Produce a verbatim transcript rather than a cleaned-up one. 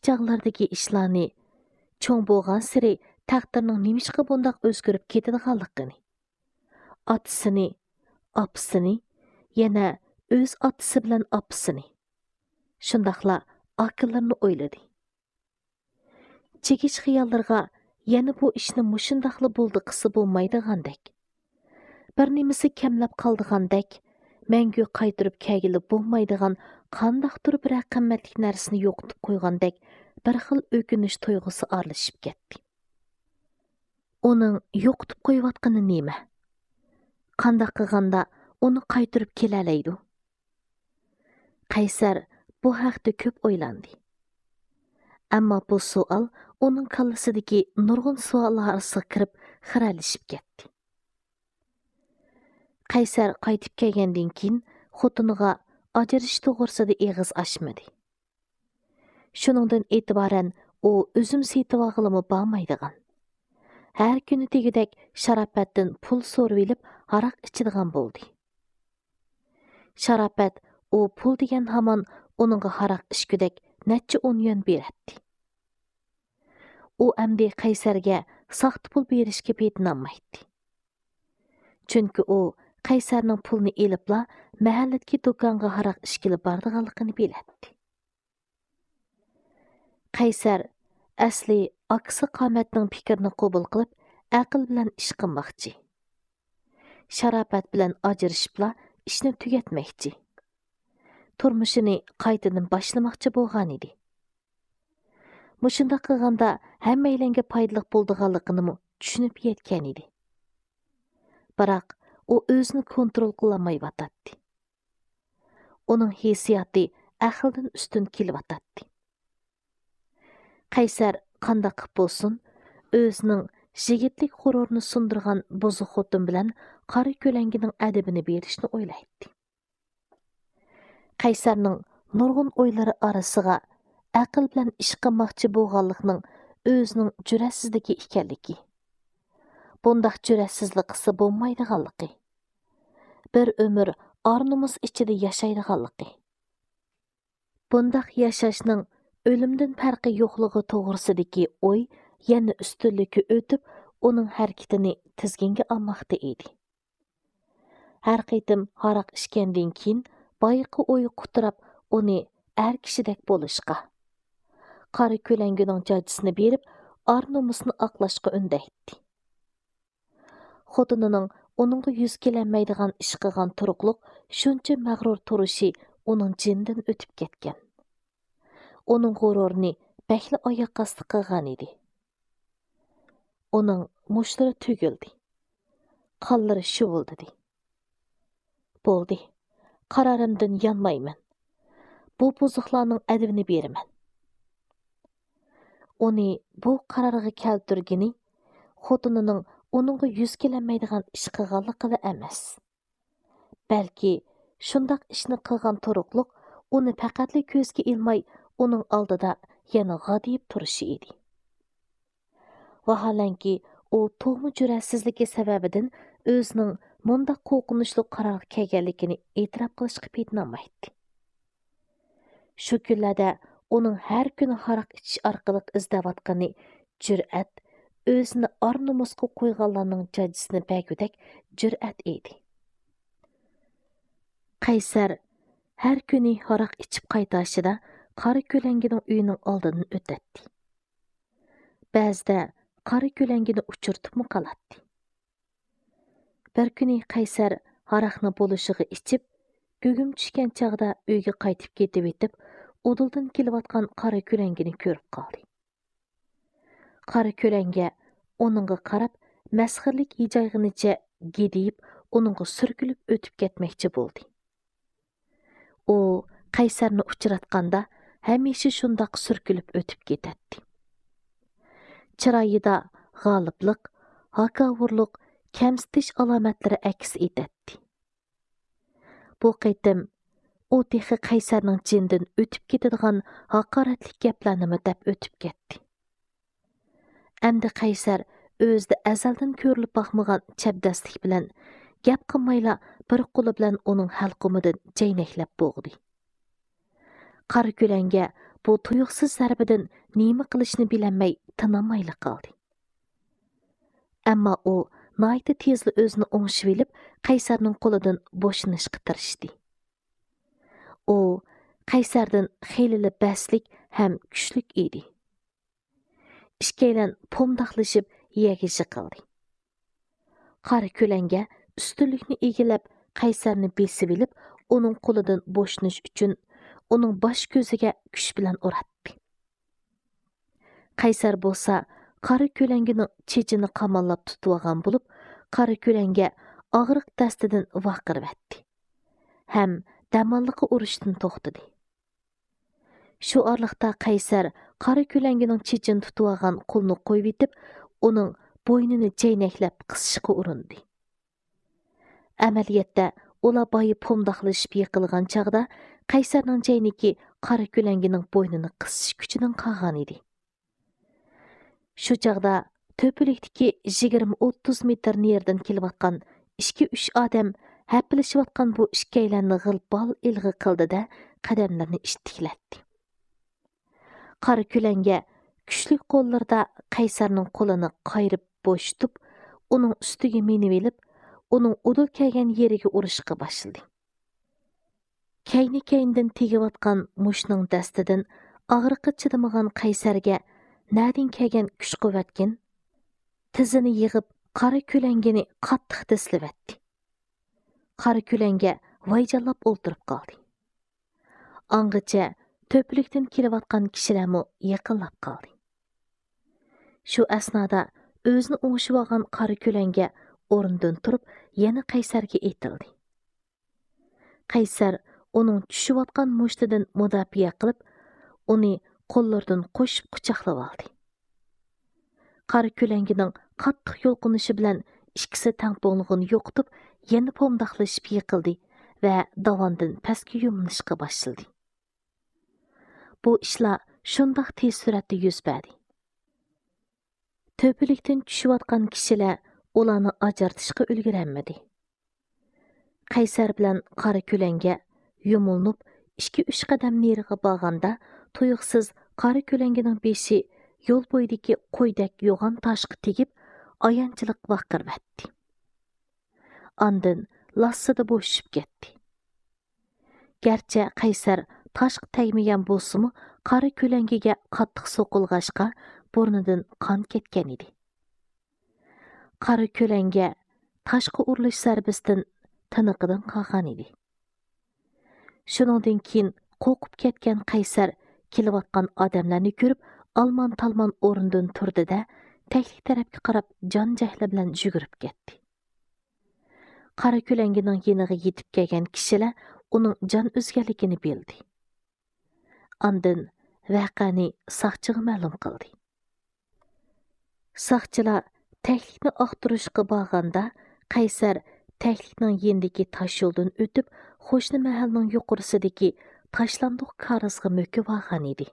چاغلىرىدىكى ئىشلارنى، چوڭ بولغانسېرى تەقدىرنىڭ نېمىشقا بۇنداق ئۆزگىرىپ كېتىدىغانلىقىنى، ئاتىسىنى، ئاپىسىنى، يەنە ئۆز ئاتىسى بىلەن ئاپىسىنى، شۇنداقلا ئاكىلىرىنى ئويلىدى. چېكىش خىياللىرىغا يەنە بۇ ئىشنى مۇشۇنداقلا بولدى قىلسا بولمايدىغاندەك، بىر نېمىسى كەملەپ قالىدىغاندەك، مەڭگۈ قايتۇرۇپ كەلگىلى بولمايدىغان قانداقتۇر بىرەر قىممەتلىك نەرسىنى يوقىتىپ قويغاندەك بىر خىل ئۆكۈنۈش تۇيغۇسى ئارىلىشىپ كەتتى. ئۇنىڭ يوقىتىپ قويۇۋاتقىنى نېمە؟ قانداق قىلغاندا ئۇنى قايتۇرۇپ كېلەلەيدۇ؟ قەيسەر بۇ ھەقتە كۆپ ئويلاندى. ئەمما بۇ سوئال ئۇنىڭ كاللىسىدىكى نۇرغۇن سوئاللار ئارىسىغا كىرىپ خىرەلىشىپ كەتتى. قەيسەر قايتىپ كەلگەندىن كېيىن خوتۇنىغا ئاجرىشىش توغرىسىدا ئېغىز ئاچمىدى. شۇنىڭدىن ئېتىبارەن ئۇ ئۈزۈم سېتىۋالغىلىمۇ بارمايدىغان، ھەر كۈنى دېگۈدەك شاراپەتتىن پۇل سورىۋېلىپ ھاراق ئىچىدىغان بولدى. شاراپەت ئۇ پۇل دېگەن ھامان ئۇنىڭغا ھاراق ئىچكۈدەك نەچچە ئون يۈەن بېرەتتى. ئۇ ئەمدى قەيسەرگە ساختا پۇل بېرىشكە پېتىنالمايتتى. چۈنكى ئۇ قەيسەرنىڭ پۇلنى ئېلىپلا مەھەللىدىكى دۇكانغا ھاراق ئىچكىلى بارىدىغانلىقىنى بىلەتتى. قەيسەر ئەسلى ئاكىسى قامەتنىڭ پىكرىنى قوبۇل قىلىپ، ئەقىل بىلەن ئىش قىلماقچى. شاراپەت بىلەن ئاجرىشىپلا ئىشنى تۈگەتمەكچى. تۇرمۇشىنى قايتىدىن باشلىماقچى بولغانىدى. مۇشۇنداق قىلغاندا ھەممەيلەنگە پايدىلىق بولىدىغانلىقىنىمۇ چۈشىنىپ يەتكەنىدى. بىراق، ئۇ ئۆزىنى كونترول قىلالمايۋاتاتتى. ئۇنىڭ ھېسسىياتى ئەقىلدىن ئۈستۈن كېلىۋاتاتتى. قەيسەر قانداق قىپ بولسۇن، ئۆزىنىڭ يىگىتلىك غۇرۇرىنى سۇندۇرغان بۇزۇق خوتۇن بىلەن قارا كۆلەڭگىنىڭ ئەدىپىنى بېرىشنى ئويلايتتى. قەيسەرنىڭ نۇرغۇن ئويلىرى ئارىسىغا ئەقىل بىلەن ئىش قىلماقچى بولغانلىقنىڭ ئۆزىنىڭ جۈرئەتسىزلىكى ئىكەنلىكى، بۇنداق جۈرئەتسىزلىك قىلسا بولمايدىغانلىقى، بىر ئۆمۈر ئار-نومۇس ئىچىدە ياشايدىغانلىقى، بۇنداق ياشاشنىڭ ئۆلۈمدىن پەرقى يوقلۇقى توغرىسىدىكى ئوي يەنە ئۈستۈنلۈككە ئۆتۈپ، ئۇنىڭ ھەرىكىتىنى تىزگىنگە ئالماقتا ئىدى. ھەر قېتىم ھاراق ئىچكەندىن كېيىن، بايىقى ئوي قۇتراپ، ئۇنى ئەر كىشىدەك بولۇشقا، قارا كۆلەڭگىنىڭ جاجىسىنى بېرىپ، ئار-نومۇسىنى ئاقلاشقا ئۈندەيتتى. خوتۇنىنىڭ ئۇنىڭغا يۈز كېلەلمەيدىغان ئىش قىلغان تۇرۇقلۇق شۇنچە مەغرۇر تۇرۇشى ئۇنىڭ جېنىدىن ئۆتۈپ كەتكەن. ئۇنىڭ غۇرۇرىنى بەكلا ئاياق ئاستى قىلغانىدى. ئۇنىڭ مۇشتلىرى تۈگۈلدى. قانلىرى شۇۋۇلدىدى. بولدى، قارارىمدىن يانمايمەن. بۇ بۇزۇقلارنىڭ ئەدىپىنى بېرىمەن. ئۇنى بۇ قارارغا كەلتۈرگىنى خوتۇنىنىڭ ئۇنىڭغا يۈز كېلەلمەيدىغان ئىش قىلغانلىقىلا ئەمەس، بەلكى شۇنداق ئىشنى قىلغان تۇرۇقلۇق ئۇنى پەقەتلا كۆزگە ئىلماي، ئۇنىڭ ئالدىدا يەنە غادىيىپ تۇرۇشى ئىدى. ۋاھالەنكى، ئۇ تۇغما جۈرئەتسىزلىكى سەۋەبىدىن ئۆزىنىڭ مۇنداق قورقۇنچلۇق قارارغا كەلگەنلىكىنى ئېتىراپ قىلىشقا پېتىنالمايتتى. شۇ كۈنلەردە ئۇنىڭ ھەر كۈنى ھاراق ئىچىش ئارقىلىق ئىزدەۋاتقىنى جۈرئەت، ئۆزىنى ئار-نومۇسقا قويغانلارنىڭ جاجىسىنى بەرگۈدەك جۈرئەت ئىدى. قەيسەر ھەر كۈنى ھاراق ئىچىپ قايتاشىدا قارا كۆلەڭگىنىڭ ئۆيىنىڭ ئالدىدىن ئۆتەتتى. بەزىدە قارا كۆلەڭگىنى ئۇچرىتىپمۇ قالاتتى. بىر كۈنى قەيسەر ھاراقنى بولۇشىغا ئىچىپ، گۇگۇم چۈشكەن چاغدا ئۆيگە قايتىپ كېتىۋېتىپ، ئۇدۇلدىن كېلىۋاتقان قارا كۆلەڭگىنى كۆرۈپ قالدى. قارا كۆلەڭگە ئۇنىڭغا قاراپ مەسخىرىلىك ھىجايغىنىچە گىدىيىپ، ئۇنىڭغا سۈركىلىپ ئۆتۈپ كەتمەكچى بولدى. ئۇ قەيسەرنى ئۇچراتقاندا ھەمىشە شۇنداق سۈركىلىپ ئۆتۈپ كېتەتتى. چىرايىدا غالىپلىق، ھاكاۋۇرلۇق، كەمسىتىش ئالامەتلىرى ئەكس ئېتەتتى. بۇ قېتىم ئۇ تېخى قەيسەرنىڭ جېنىدىن ئۆتۈپ كېتىدىغان ھاقارەتلىك گەپلەرنىمۇ دەپ ئۆتۈپ كەتتى. ئەمدى قەيسەر ئۆزىدە ئەزەلدىن كۆرۈلۈپ باقمىغان چەبدەسلىك بىلەن گەپ قىلمايلا بىر قولى بىلەن ئۇنىڭ ھەلقۇمىدىن جەينەكلەپ بوغدى. قارا كۆلەڭگە بۇ تۇيۇقسىز زەربىدىن نېمە قىلىشنى بىلەلمەي تىنالمايلا قالدى. ئەمما ئۇ ناھايىتى تېزلا ئۆزىنى ئوڭشىۋېلىپ، قەيسەرنىڭ قولىدىن بوشىنىشقا تىرىشتى. ئۇ قەيسەردىن خېلىلا بەسلىك ھەم كۈچلۈك ئىدى. ئىككىيلەن پومداقلىشىپ يەرگە يىقىلدى. قارا كۆلەڭگە ئۈستۈنلۈكنى ئىگىلەپ، قەيسەرنى بېسىۋېلىپ، ئۇنىڭ قولىدىن بوشىنىش ئۈچۈن ئۇنىڭ باش كۆزىگە كۈچ بىلەن ئۇراتتى. قەيسەر بولسا قارا كۆلەڭگىنىڭ چېچىنى قاماللاپ تۇتۇۋالغان بولۇپ، قارا كۆلەڭگە ئاغرىق دەستىدىن ۋارقىرىۋەتتى ھەم دەماللىقى ئۇرۇشتىن توختىدى. شۇ ئارىلىقتا قەيسەر قارا كۆلەڭگىنىڭ چېچىنى تۇتۇۋالغان قولىنى قويۇۋېتىپ، ئۇنىڭ بوينىنى چەينەكلەپ قىسىشقا ئۇرۇندى. ئەمەلىيەتتە، ئۇلار بايا پومداقلىشىپ يىقىلغان چاغدا قەيسەرنىڭ چەينىكى قارا كۆلەڭگىنىڭ بوينىنى قىسىش كۈچىدىن قالغان ئىدى. شۇ چاغدا تۆپىلىكتىكى يىگىرمە ئوتتۇز مېتىر نېرىدىن كېلىۋاتقان ئىككى-ئۈچ ئادەم ھەپىلىشىۋاتقان بۇ ئىككىيلەننى غىل-پال ئىلغا قىلدى-دە، قەدەملىرىنى ئىتتىكلەتتى. قارا كۆلەڭگە كۈچلۈك قوللىرىدا قەيسەرنىڭ قولىنى قايرىپ بوشىتىپ، ئۇنىڭ ئۈستىگە مىنىۋېلىپ، ئۇنىڭ ئۇدۇل كەلگەن يېرىگە ئۇرۇشقا باشلىدى. كەينى-كەينىدىن تېگىۋاتقان مۇشتنىڭ دەستىدىن ئاغرىققا چىدىمىغان قەيسەرگە نەدىن كەلگەن كۈچ-قۇۋۋەتكىن، تىزىنى يىغىپ، قارا كۆلەڭگىنى قاتتىق دىسلىۋەتتى. قارا كۆلەڭگە ۋايجانلاپ ئولتۇرۇپ قالدى. ئاڭغىچە تۆپىلىكتىن كېلىۋاتقان كىشىلەرمۇ يېقىنلاپ قالدى. شۇ ئەسنادا ئۆزىنى ئوڭشىۋالغان قارا كۆلەڭگە ئورنىدىن تۇرۇپ، يەنە قەيسەرگە ئېتىلدى. قەيسەر ئۇنىڭ چۈشۈۋاتقان مۇشتىدىن مۇداپىئە قىلىپ، ئۇنى قوللىرىدىن قوشۇپ قۇچاقلىۋالدى. قارا كۆلەڭگىنىڭ قاتتىق يۇلقۇنۇشى بىلەن ئىككىسى تەڭپۇڭلۇقىنى يوقىتىپ، يەنە پومداقلىشىپ يىقىلدى ۋە داۋاندىن پەسكە يۇمىلىشقا باشلىدى. بۇ ئىشلار شۇنداق تېز سۈرئەتتە يۈز بەردى. تۆپىلىكتىن چۈشۈۋاتقان كىشىلەر ئۇلارنى ئاجرىتىشقا ئۈلگۈرەلمىدى. قەيسەر بىلەن قارا كۆلەڭگە يۇمۇلۇنۇپ، ئىككى-ئۈچ قەدەم نېرىغا بارغاندا، تۇيۇقسىز قارا كۆلەڭگىنىڭ بېشى يول بويىدىكى قويدەك يوغان تاشقا تېگىپ، ئايانچلىق ۋارقىرىۋەتتى. ئاندىن لاسسىدە بوشىشىپ كەتتى. گەرچە قەيسەر تاشقا تەگمىگەن بولسىمۇ، قارا كۆلەڭگىگە قاتتىق سوقۇلغاچقا، بۇرنىدىن قان كەتكەن ئىدى. قارا كۆلەڭگە تاشقا ئۇرۇلۇش زەربىسىدىن تىنىقىدىن قالغان ئىدى. شۇنىڭدىن كېيىن قورقۇپ كەتكەن قەيسەر كېلىۋاتقان ئادەملەرنى كۆرۈپ، ئالمان-تالمان ئورنىدىن تۇردى-دە، تەكلىك تەرەپكە قاراپ جان-جەھلى بىلەن يۈگۈرۈپ كەتتى. قارا كۆلەڭگىنىڭ يېنىغا يېتىپ كەلگەن كىشىلەر ئۇنىڭ جان ئۈزگەنلىكىنى بىلدى. ئاندىن ۋەقەنى ساقچىغا مەلۇم قىلدى. ساقچىلار تەكلىكنى ئاختۇرۇشقا بارغاندا، قەيسەر تەكلىكنىڭ يېنىدىكى تاشيولدىن ئۆتۈپ، قوشنا مەھەللىنىڭ يۇقىرىسىدىكى تاشلاندۇق كارىزغا مۆكۈۋالغان ئىدى.